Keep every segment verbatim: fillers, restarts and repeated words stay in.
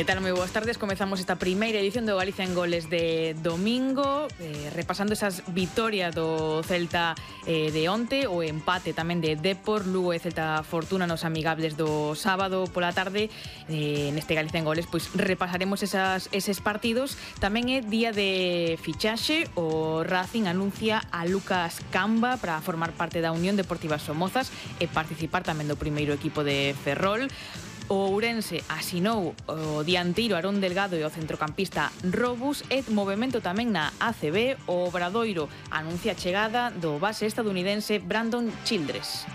Que tal? Moi boas tardes. Comezamos esta primeira edición do Galicia en Goles de domingo, eh, repasando esas vitorias do Celta eh, de onte, o empate tamén de Depor, Lugo e Celta Fortuna nos amigables do sábado pola tarde. Eh, neste Galicia en Goles pois repasaremos esas, eses partidos. Tamén é día de fichaxe. O Racing anuncia a Lucas Camba para formar parte da Unión Deportiva Somozas e participar tamén do primeiro equipo de Ferrol. O Ourense asinou o dianteiro Arón Delgado e o centrocampista Robus, e movemento tamén na A C B. O Obradoiro anuncia a chegada do base estadounidense Brandon Childress.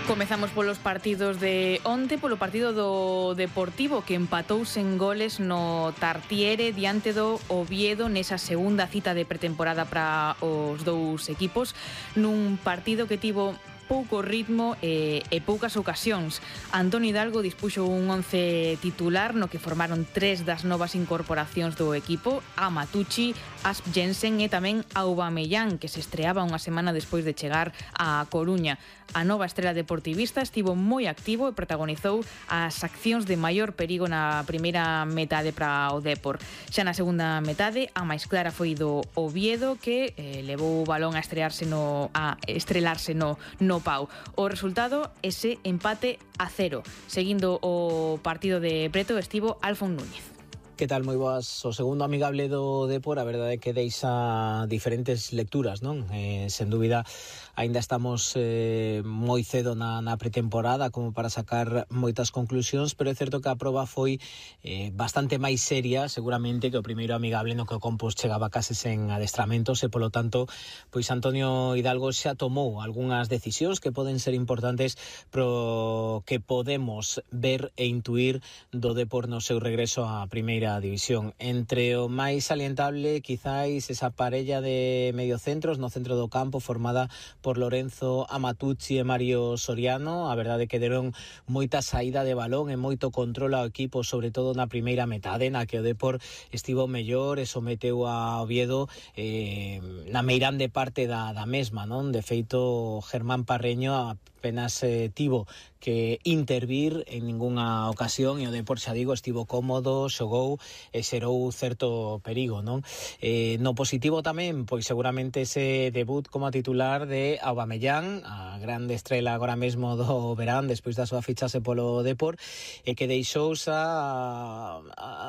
Comezamos polos partidos de onte, polo partido do Deportivo, que empatou sen goles no Tartiere diante do Oviedo nesa segunda cita de pretemporada para os dous equipos, nun partido que tivo pouco ritmo e, e poucas ocasións. Antonio Hidalgo dispuxo un once titular no que formaron tres das novas incorporacións do equipo: Amatucci, Asp Jensen e tamén Aubameyang, que se estreaba unha semana despois de chegar a Coruña. A nova estrela deportivista estivo moi activo e protagonizou as accións de maior perigo na primeira metade para o Depor. Xa na segunda metade, a máis clara foi do Oviedo, que eh, levou o balón a estrearse no a estrelarse no no pau. O resultado, ese empate a cero. Seguindo o partido de Preto, estivo Alfon Núñez. Que tal? Moi boas. O segundo amigable do Depor, a verdade é que deixa diferentes lecturas, non? Eh, sen dúbida, aínda estamos eh, moi cedo na, na pretemporada como para sacar moitas conclusións, pero é certo que a proba foi eh, bastante máis seria, seguramente, que o primeiro amigable no que o Compos chegaba case sen adestramentos, e polo tanto, pois Antonio Hidalgo xa tomou algunhas decisións que poden ser importantes pro que podemos ver e intuir do Depor no seu regreso á primeira división. Entre o máis salientable, quizáis esa parella de mediocentros no centro do campo formada por Lorenzo Amatucci e Mario Soriano. A verdade é que deron moita saída de balón e moito control ao equipo, sobre todo na primeira metade, na que o Depor estivo mellor e someteu a Oviedo eh, na meirande parte da, da mesma, non? De feito, Germán Parreño apenas eh, tivo que intervir en ningunha ocasión, e o Depor, xa digo, estivo cómodo, xogou e xerou certo perigo, non? Eh, no positivo tamén, pois seguramente ese debut como titular de Aubameyang, a grande estrela agora mesmo do verán despois da súa fichase polo Depor, e que deixou xa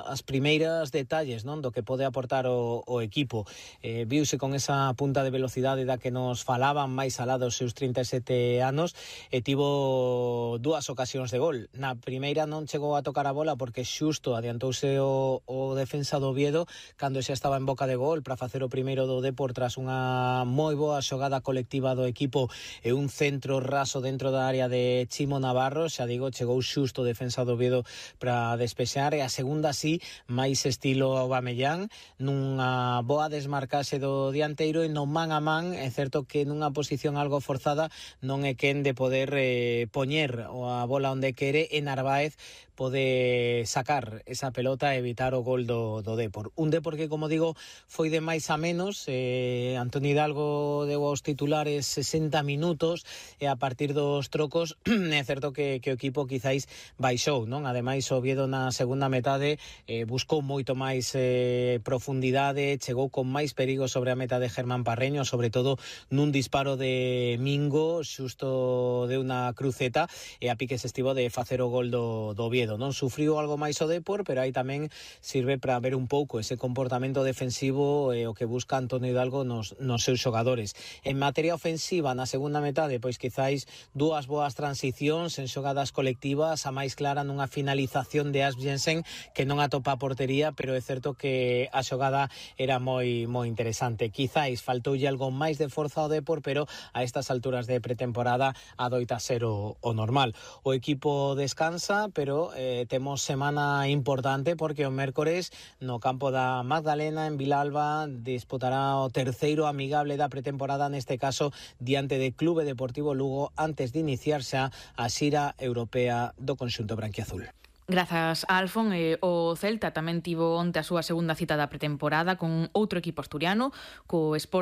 as primeiras detalles, non, do que pode aportar o, o equipo. Eh, viuse con esa punta de velocidade da que nos falaban máis alá dos seus trinta e sete anos, e tivo dúas ocasións de gol. Na primeira non chegou a tocar a bola porque xusto adiantouse o, o defensa do Oviedo cando xa estaba en boca de gol para facer o primeiro do Depor tras unha moi boa xogada colectiva do equipo e un centro raso dentro da área de Chimo Navarro. Xa digo, chegou xusto o defensa do Oviedo para despexar, e a segunda sí, máis estilo Aubameyang, nunha boa desmarcase do dianteiro e no man a man. É certo que nunha posición algo forzada non é quen de poder eh, poñer a bola onde quere, e Narváez pode sacar esa pelota e evitar o gol do, do Depor. Un Depor que, como digo, foi de máis a menos. eh, Antonio Hidalgo deu aos titulares sesenta minutos, e a partir dos trocos é certo que, que o equipo quizáis baixou, non? Ademais, o Oviedo na segunda metade eh, buscou moito máis eh, profundidade, chegou con máis perigo sobre a meta de Germán Parreño, sobre todo nun disparo de Mingo, xusto de unha cruceta, e a piques estivo de facer o gol do, do Oviedo. Non sufriu algo máis o Depor, pero aí tamén sirve para ver un pouco ese comportamento defensivo e o que busca Antonio Hidalgo nos, nos seus xogadores. En materia ofensiva, na segunda metade, pois quizáis dúas boas transicións en xogadas colectivas, a máis clara nunha finalización de Asp Jensen que non atopa a portería, pero é certo que a xogada era moi moi interesante. Quizáis faltoulle algo máis de forza ao Depor, pero a estas alturas de pretemporada adoita ser o, o normal. O equipo descansa, pero eh, temos semana importante porque o mércores no campo da Magdalena en Vilalba disputará o terceiro amigable da pretemporada, neste caso diante de Clube Deportivo Lugo, antes de iniciarse a xira europea do conxunto branquiazul. Grazas a Alfon. eh, o Celta tamén tivo onte a súa segunda cita da pretemporada con outro equipo asturiano, co Sporting